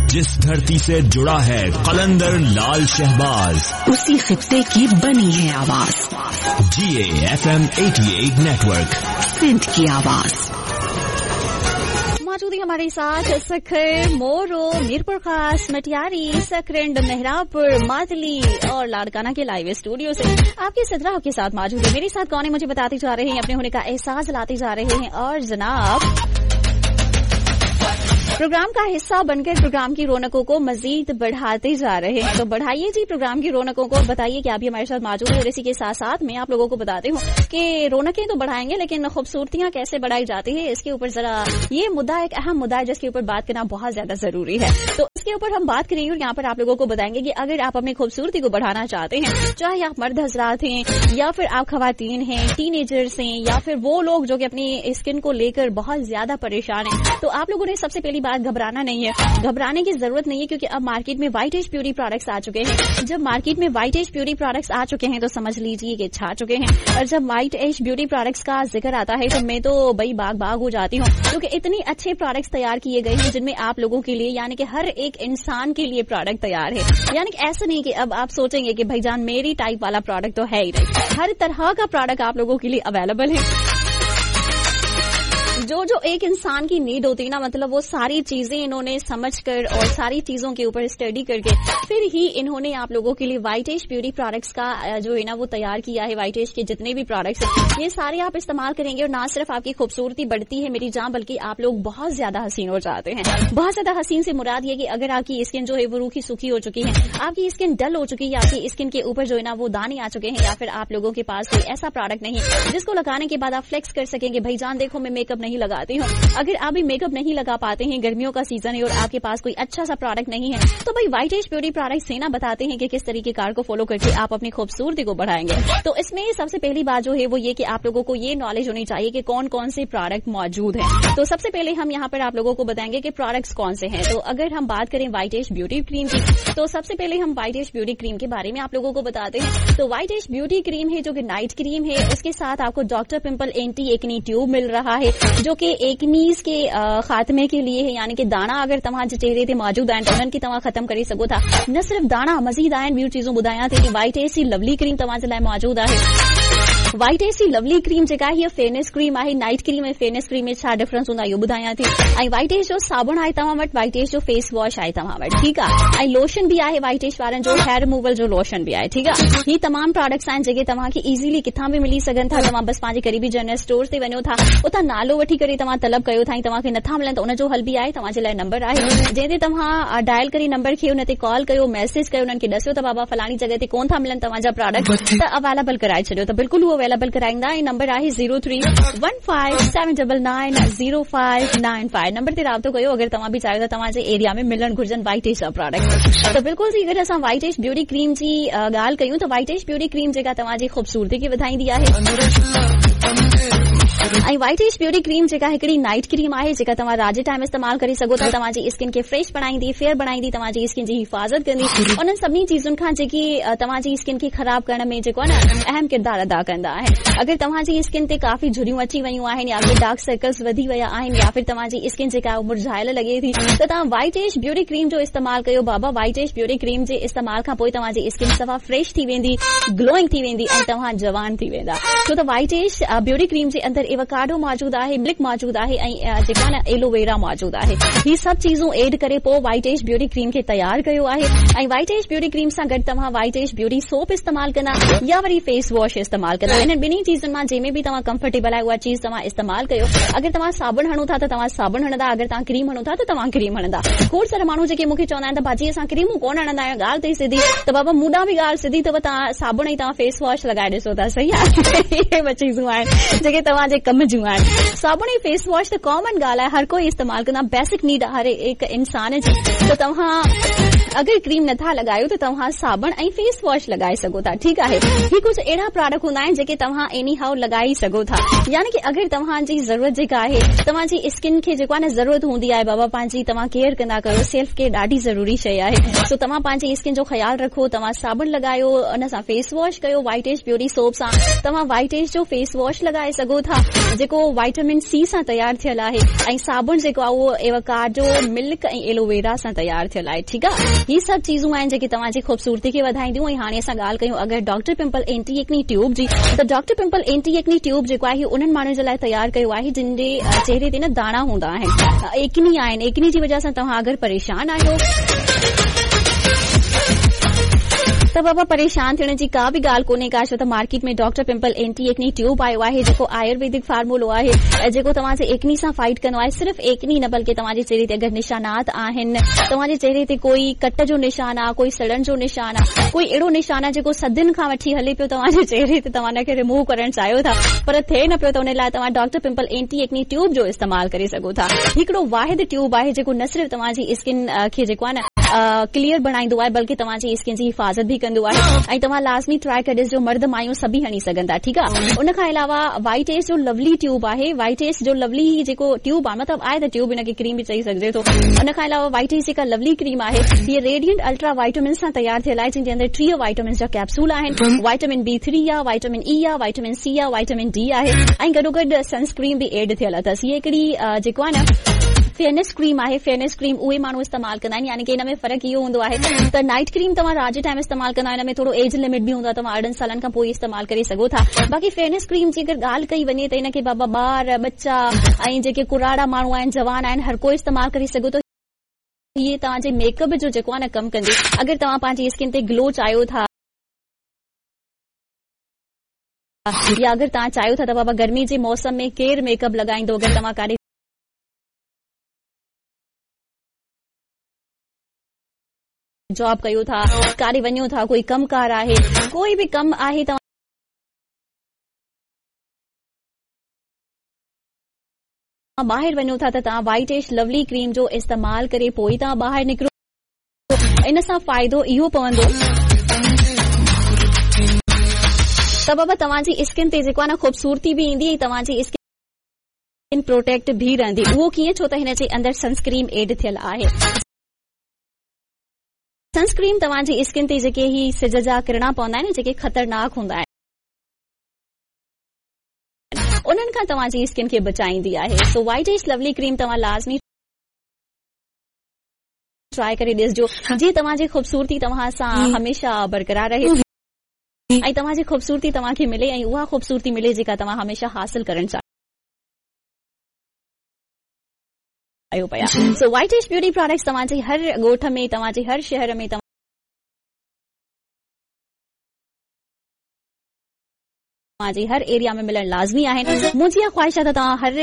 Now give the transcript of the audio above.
जिस धरती से जुड़ा है कलंदर लाल शहबाज, उसी खित्ते की बनी है आवाज। जीए एफएम 88 नेटवर्क, सिंध की आवाज। मौजूद है हमारे साथ सखर, मोरो, मीरपुर खास, मटियारी, सकरंड, मेहराबपुर, मातली और लाड़काना के लाइव स्टूडियो से आपके सदरा आपके साथ मौजूद है। मेरे साथ कौन है मुझे बताते जा रहे हैं, अपने होने का एहसास लाते जा रहे हैं और जनाब प्रोग्राम का हिस्सा बनकर प्रोग्राम की रौनकों को मजीद बढ़ाते जा रहे हैं। तो बढ़ाइए जी प्रोग्राम की रौनकों को और बताइए कि आप भी हमारे साथ मौजूद है। और इसी के साथ साथ मैं आप लोगों को बताती हूँ कि रौनकें तो बढ़ाएंगे लेकिन खूबसूरतियां कैसे बढ़ाई जाती है इसके ऊपर जरा ये मुद्दा एक अहम मुद्दा है जिसके ऊपर बात करना बहुत ज्यादा जरूरी है। तो इसके ऊपर हम बात करेंगे और यहाँ पर आप लोगों को बताएंगे कि अगर आप अपनी खूबसूरती को बढ़ाना चाहते हैं, चाहे आप मर्द हजरात हैं या फिर आप खवातीन हैं, टीनेजर्स हैं या फिर वो लोग जो कि अपनी स्किन को लेकर बहुत ज्यादा परेशान हैं, तो आप लोगों ने सबसे पहली बात घबराना नहीं है। घबराने की जरूरत नहीं है क्योंकि अब मार्केट में वाइट एज ब्यूटी प्रोडक्ट्स आ चुके हैं। जब मार्केट में वाइट एज ब्यूटी प्रोडक्ट्स आ चुके हैं तो समझ लीजिए कि छा चुके हैं। और जब वाइट एज ब्यूटी प्रोडक्ट्स का जिक्र आता है तो मैं तो भाई बाग बाग हो जाती हूँ क्योंकि इतने अच्छे प्रोडक्ट्स तैयार किए गए हैं जिनमें आप लोगों के लिए यानी कि हर एक इंसान के लिए प्रोडक्ट तैयार है। यानी कि ऐसा नहीं कि अब आप सोचेंगे कि भाईजान मेरी टाइप वाला प्रोडक्ट तो है ही नहीं, हर तरह का प्रोडक्ट आप लोगों के लिए अवेलेबल है। जो जो एक इंसान की नीड होती है ना, मतलब वो सारी चीजें इन्होंने समझ कर और सारी चीजों के ऊपर स्टडी करके फिर ही इन्होंने आप लोगों के लिए वाइट एज ब्यूटी प्रोडक्ट्स का जो है ना वो तैयार किया है। वाइट एज के जितने भी प्रोडक्ट्स हैं ये सारे आप इस्तेमाल करेंगे और ना सिर्फ आपकी खूबसूरती बढ़ती है मेरी जान, बल्कि आप लोग बहुत ज्यादा हसीन हो जाते हैं। बहुत ज्यादा हसीन से मुराद ये कि अगर आपकी स्किन जो है वो रूखी सूखी हो चुकी है, आपकी स्किन डल हो चुकी है, आपकी स्किन के ऊपर जो है ना वो दाने आ चुके हैं, या फिर आप लोगों के पास कोई ऐसा प्रोडक्ट नहीं जिसको लगाने के बाद आप फ्लेक्स कर सकेंगे भाई जान देखो मैं मेकअप नहीं लगाती हूँ। अगर आप भी मेकअप नहीं लगा पाते हैं, गर्मियों का सीजन है और आपके पास कोई अच्छा सा प्रोडक्ट नहीं है, तो भाई वाइट एज ब्यूटी प्रोडक्ट से ना बताते हैं कि किस तरीके कार को फॉलो करके आप अपनी खूबसूरती को बढ़ाएंगे। तो इसमें सबसे पहली बात जो है वो ये कि आप लोगों को ये नॉलेज होनी चाहिए कि कौन कौन से प्रोडक्ट मौजूद हैं। तो सबसे पहले हम यहाँ पर आप लोगों को बताएंगे कि प्रोडक्ट्स कौन से हैं। तो अगर हम बात करें वाइट एज ब्यूटी क्रीम की, तो सबसे पहले हम वाइट एज ब्यूटी क्रीम के बारे में आप लोगों को बताते हैं। तो वाइट एज ब्यूटी क्रीम है जो कि नाइट क्रीम है, उसके साथ आपको doctor pimple anti acne tube मिल रहा है जो कि एकनीज के खात्मे के लिए है। यानी कि दाना अगर तव्हां जे चेहरे ते मौजूद आहिनि त उन्हनि खे तव्हां ख़त्म करे सघो था। न सिर्फ़ दाना, मज़ीद आहिनि ॿियूं चीज़ूं ॿुधायां थी कि वाइट एज जी लवली क्रीम तव्हां जे लाइ मौजूदु आहे। वाइट एज जी लवली क्रीम जेका आहे हीअ फेयरनेस क्रीम आहे। नाइट क्रीम ऐं फेयरनेस क्रीम में छा डिफरेंस हूंदो आहे इहो ॿुधायां थी। ऐं वाइट एज जो साबुण आहे तव्हां वटि, वाइट एज जो फेस वॉश आहे तव्हां वटि, ठीकु आहे, ऐं लोशन बि आहे वाइट एज वारनि जो, हेयर रिमूवल जो लोशन बि आहे, ठीकु आहे। हीअ तमामु प्रोडक्ट्स आहिनि जेके तव्हांखे ईज़िली किथां बि मिली सघनि था। तव्हां बसि पंहिंजे क़रीबी जनरल स्टोर ते वञो था, उतां नालो वठी करे तव्हां तलब कयो था ऐं तव्हांखे नथा मिलनि त उनजो हल बि आहे। तव्हांजे लाइ नंबर आहे जंहिं ते तव्हां डायल करे नंबर खे उन ते कॉल कयो, मैसेज कयो, उन्हनि खे ॾसियो त बाबा फलाणी जॻह ते कोन था मिलनि तव्हांजा प्रोडक्ट, त अवेलेबल कराए छॾियो। त बिल्कुलु उहो अवेलेबल कराईंदा। ऐं नंबर आहे 03157990595 नंबर ते राब्तो कयो अगरि तव्हां बि चाहियो था तव्हांजे एरिया में मिलणु घुर्जनि वाइट एज जा प्रोडक्ट। त बिल्कुलु जी अगरि असां वाइट एज ब्यूटी क्रीम जी ॻाल्हि कयूं त वाइट एज ब्यूटी क्रीम जेका तव्हांजी ख़ूबसूरती खे वधाईंदी आहे। ऐं वाइट एज ब्यूटी क्रीम जेका हिकिड़ी नाइट क्रीम आहे जेका तव्हां राति जे टाइम इस्तेमालु करे सघो था, तव्हांजी स्किन खे फ्रेश बणाईंदी, फेयर बणाईंदी, तव्हांजी स्किन जी हिफ़ाज़त कंदी, उन्हनि सभिनी चीज़ुनि खां जेकी तव्हांजी स्किन खे ख़राब करण में जेको आहे न अहम किरदारु अदा कंदा आहिनि। अगरि तव्हांजी स्किन ते काफ़ी झुरियूं अची वयूं आहिनि या फिर डार्क सर्कल्स वधी विया आहिनि या फिर तव्हांजी स्किन जेका मुरझायल लॻे थी, त तव्हां वाइट एज ब्यूटी क्रीम जो इस्तेमालु कयो बाबा। वाइट एज ब्यूटी क्रीम जे इस्तेमाल खां पोइ तव्हांजी स्किन सफ़ा फ्रेश थी वेंदी, ग्लोइंग थी वेंदी ऐं तव्हां जवान थी वेंदा। छो त वाइट एज ब्यूटी क्रीम जे अंदरि एवोकाडो मौजूदु आहे, मिल्क मौजूदु आहे ऐं जेका न एलोवेरा मौजूदु आहे। ही सभु चीज़ूं एड करे पोइ वाइट एज ब्यूटी क्रीम खे तयारु कयो आहे। ऐं वाइट एज ब्यूटी क्रीम सां गॾु तव्हां वाइट एज ब्यूटी सोप इस्तेमालु कंदा या वरी फेस वॉश इस्तेमालु कंदा। इन्हनि ॿिन्ही चीज़ुनि मां जंहिंमें बि तव्हां कंफर्टेबल आहियो उहा चीज़ तव्हां इस्तेमालु कयो। अगरि तव्हां साबुण हणो था त तव्हां साबुण हणंदा, अगरि तव्हां क्रीम हणो था त तव्हां क्रीम हणंदा। खोड़ सारा माण्हू जेके मूंखे चवंदा आहिनि त भाजी असां क्रीमूं कोन हणंदा आहियूं, ॻाल्हि त सिधी, त बाबा मूं ॾांहुं बि ॻाल्हि सिधी अथव, तव्हां साबुण ऐं तव्हां फेस वॉश लॻाए ॾिसो था, सही आहे। इहे ॿ चीज़ूं आहिनि जेके तव्हांजे कम जूं आहिनि। साबुण ऐं फेस वॉश त कॉमन ॻाल्हि आहे, हर कोई इस्तेमालु कंदो आहे, बेसिक नीड आहे हर एक इंसान जी। त तव्हां اگر ڪريم نٿا لڳايو ته توهان صابڻ ۽ فيس واش لڳائي سگهو ٿا ٺيڪ آهي. هي ڪجهه اهڙا پراڊڪٽ هوندا آهن جيڪي توهان ايني هائو لڳائي سگهو ٿا يعني ڪي اگر توهان جي ضرورت جيڪا آهي توهان جي اسڪن کي جيڪو آهي نه ضرورت هوندي آهي بابا پنهنجي توهان ڪيئر ڪندا ڪيو سيلف ڪيئر ڏاڍي ضروري شيء آهي سو توهان پنهنجي اسڪن جو خيال رکو توهان صابڻ لڳايو ان سان فيس واش ڪيو وائيٽ ايج بيوٽي سوپ سان توهان وائيٽ ايج جو فيس واش لڳائي سگهو ٿا جيڪو وائٽامن سي سان تيار ٿيل آهي ۽ صابڻ جيڪو آهي اهو ايوڪاڊو ملڪ ۽ ايلوويرا سان تيار ٿيل آهي ٺيڪ آهي هي سڀ چيزون آهن جيڪي توهان جي خوبصورتي کي وڌائينديون ۽ هاڻي اسان ڳالهه ڪيون اگر doctor pimple anti acne tube جي ته doctor pimple anti acne tube جيڪو آهي انهن ماڻهن جي لاء تيار ڪيو آهي جن جي چهري تي نه داڻا هوندا آهن ايڪني آهن ايڪني جي وجهه سان توهان اگر پريشان آهيو ته بابا پريشان ٿيڻ جي ڪا به ڳالهه ڪونهي ڪا ڇو ته market ۾ doctor pimple anti acne tube آيو آهي جيڪو آيورويدڪ فارمولو آهي جيڪو توهان جي ايڪني سان فائيٽ ڪندو آهي صرف ايڪني نه بلڪه توهان جي چهري تي اگر نشانات آهن توهان جي چهري تي ڪوئي ڪٽ جو نشان آ ڪوئي سڙڻ جو نشان آ ڪوئي اهڙو نشان آ جيڪو صدين کان وٺي هلي پيو توهان جي چهري تي توهان ان کي ريموو ڪرڻ چاهيو ٿا پر ٿئي نه پيو ته ان لاء توهان doctor pimple anti acne tube جو استعمال ڪري سگهو ٿا هڪڙو واحد ٽيوب آهي جيڪو نه صرف توهان جي اسڪن کي جيڪو آهي نه ڪليئر بڻائيندو آهي بلڪه توهان جي اسڪن جي حفاظت به ڪندو آهي ۽ توهان لازمي ٽرائي ڪري ڏسجو مرد مايون سڀئي هڻي سگهن ٿا ٺيڪ آهي ان کان علاوه وائيٽ ايس جو لولي ٽيوب آهي وائيٽ ايس جو لولي جيڪو ٽيوب آهي مطلب آهي ته ٽيوب ان کي ڪريم به چئي سگهجي ٿو ان کان علاوه وائيٽ ايس جيڪا لولي ڪريم آهي هي ريڊيئنٽ الٽرا وائٽامنس سان تيار ٿيل آهي جنهن جي اندر 30 وائٽامنس جا ڪيپسول آهن وائٽامن بي 3 آهي وائٽامن اي آهي وائٽامن سي آهي وائٽامن ڊي آهي ۽ گڏوگڏ سن اسڪرين به ايڊ ٿيل اٿس هي هڪڙي جيڪو آهي نه فيئرنيس ڪريم آهي فيئرنيس ڪريم اهي ماڻهو استعمال ڪندا آهن يعني ڪي ان ۾ فرق اهو هوندو آهي ته نائيٽ ڪريم توهان رات جي ٽائيم استعمال ڪندا آهيو ان ۾ ٿورو ايج لمٽ به هوندو آهي توهان 18 سالن کان پوء استعمال ڪري سگهو ٿا باقي فيئرنيس ڪريم جي اگر ڳالهه ڪئي وڃي ته ان کي بابا ٻار ٻچا ۽ جيڪي ڪراڙا ماڻهو آهن جوان آهن هر ڪو استعمال ڪري سگهي ٿو هي توهان جي ميڪ اپ جو جيڪو آهي نه ڪم ڪندي اگر توهان پنهنجي اسڪن تي گلو چاهيو ٿا يا اگر توهان چاهيو ٿا ته بابا گرمي جي موسم ۾ ڪير ميڪ اپ لڳائيندو اگر توهان ڪاڏي جاب ڪيو ٿا ڪاڏي وڃو ٿا ڪوئي ڪم ڪار آهي ڪوئي به ڪم آهي توهان ٻاهر وڃو ٿا ته توهان وائيٽ ايش لولي ڪريم جو استعمال ڪري پوء توهان ٻاهر نڪرو ان سان فائدو اهو پوندو ته بابا توهان جي اسڪن تي جيڪو آهي نه خوبصورتي به ايندي ۽ توهان جي اسڪن پروٽيڪٽ به رهندي اهو ڪيئن ڇو ته هن جي اندر سن اسڪريم ايڊ ٿيل آهي سن اسڪريم توهان جي اسڪن تي جيڪي هي سج جا ڪرڻا پوندا آهن جيڪي خطرناڪ هوندا آهن انهن کان توهان جي اسڪن کي بچائيندي آهي سو وائيٽ ايش لولي ڪريم توهان لازمي ٽرائي ڪري ڏسجو جيئن توهان جي خوبصورتي توهان سان هميشه برقرار رهي ۽ توهان جي خوبصورتي توهان کي ملي ۽ اها خوبصورتي ملي جيڪا توهان هميشه حاصل ڪرڻ چاهيو پيا. سو وائيٽ ايش بيوٽي پراڊڪٽس توهان جي هر ڳوٺ ۾ توهان جي هر شهر ۾ توهان جي هر ايريا ۾ ملڻ لازمي آهن. منهنجي اها خواهش آهي ته توهان هر